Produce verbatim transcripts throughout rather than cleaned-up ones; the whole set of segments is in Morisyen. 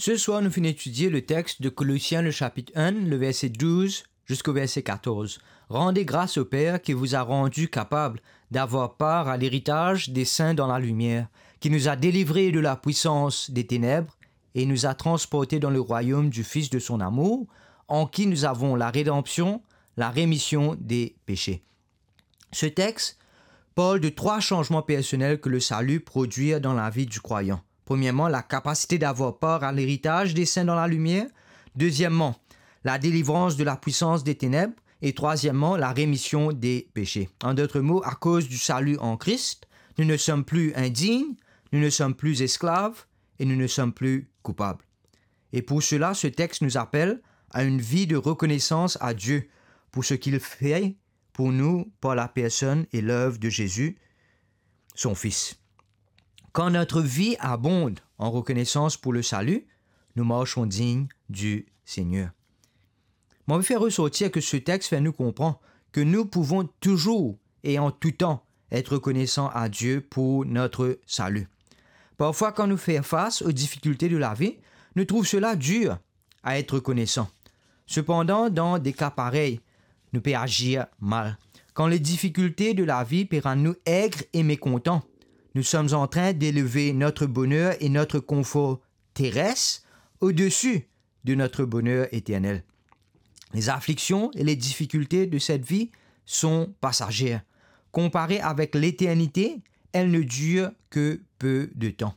Ce soir, nous finissons étudier le texte de Colossiens, le chapitre un, le verset douze jusqu'au verset quatorze. Rendez grâce au Père qui vous a rendu capable d'avoir part à l'héritage des saints dans la lumière, qui nous a délivrés de la puissance des ténèbres et nous a transportés dans le royaume du Fils de son amour, en qui nous avons la rédemption, la rémission des péchés. Ce texte parle de trois changements personnels que le salut produit dans la vie du croyant. Premièrement, la capacité d'avoir part à l'héritage des saints dans la lumière. Deuxièmement, la délivrance de la puissance des ténèbres. Et troisièmement, la rémission des péchés. En d'autres mots, à cause du salut en Christ, nous ne sommes plus indignes, nous ne sommes plus esclaves et nous ne sommes plus coupables. Et pour cela, ce texte nous appelle à une vie de reconnaissance à Dieu pour ce qu'il fait pour nous par la personne et l'œuvre de Jésus, son Fils. Quand notre vie abonde en reconnaissance pour le salut, nous marchons dignes du Seigneur. Mo anvi fer resortir ke se text fer nou konpran ke nou pouvon touzour e an tou tan et rekonesan a Die pour notre salut. Parfwa, kan nou fer fas aux difficultés de la vie, nou trouv sela dir a et rekonesan. Sepandan, dan de ka parey, nou pe azir mal. Quand les difficultés de la vie pe rann nou aigres et mécontents, nous sommes en train d'élever notre bonheur et notre confort terrestre au-dessus de notre bonheur éternel. Les afflictions et les difficultés de cette vie sont passagères. Comparées avec l'éternité, elles ne durent que peu de temps.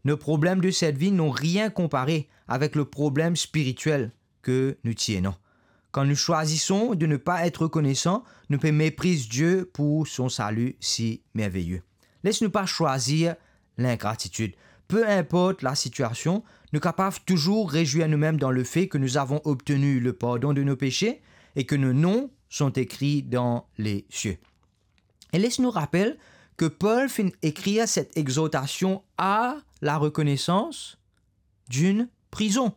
Nos problèmes de cette vie n'ont rien comparé avec le problème spirituel que nous tienons. Quand nous choisissons de ne pas être reconnaissants, nous pouvons mépriser Dieu pour son salut si merveilleux. Les nou pa swazir lingratitid. Pe inport lasitiasion, nou kapav touzour rezwir noumem dan lefe ke nou avon obtenu le pardon de nos péchés et que nos noms sont écrits dans les cieux. E les nou rapel ke Pol finn ekrir set exortasion a la rekonesans d'une prison.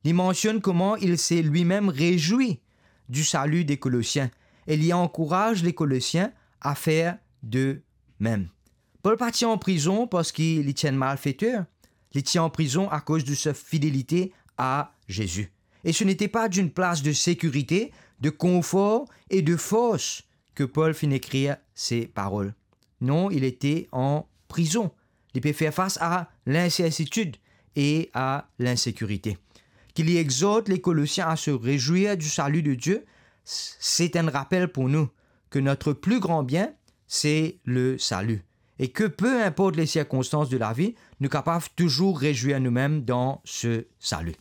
Li mansionn kouma li se limem rezwi di sali de Kolosien e li ankouraz le Kolosien a fer de mem. Pol pa ti an prizon parski li ti enn malfeter, li ti an prizon akoz de sa fidelite a Zezi. E ce n'était pas d'une place de sécurité, de confort et de force que Paul finn ekrir se parol. Non, li ti an prizon. Li pe fer fas a linsertitid e a linsekirite. Ki li exort le Kolosien a se rezwir di sali de Die, se enn rapel pou nou ke notre plus grand bien, se le sali. E ke pe inport le sirkonstans de lavi, nou kapav touzour rezwir noumem dan se sali.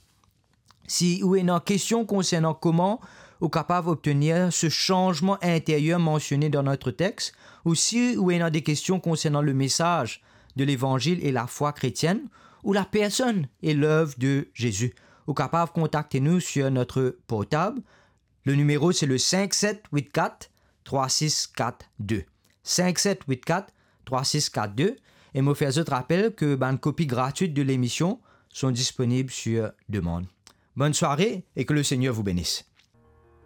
Si ou ena kestion konsernan kouma ou kapav obtenir se sanzman interyer mansione dan notre text, ou si ou ena de kestion konsernan le mesaz de levanzil e lafwa kretienn, ou la personne et l'œuvre de Jésus, ou kapav kontakte nou sur notre portable. Le numéro, c'est le cinq sept huit quatre trois six quatre deux. Cinq sept huit quatre trois six quatre deux. E mo fer zot rapel ke bann kopi gratwit de lemision sont disponibles sur demande. Bonne soirée et que le Seigneur vous bénisse.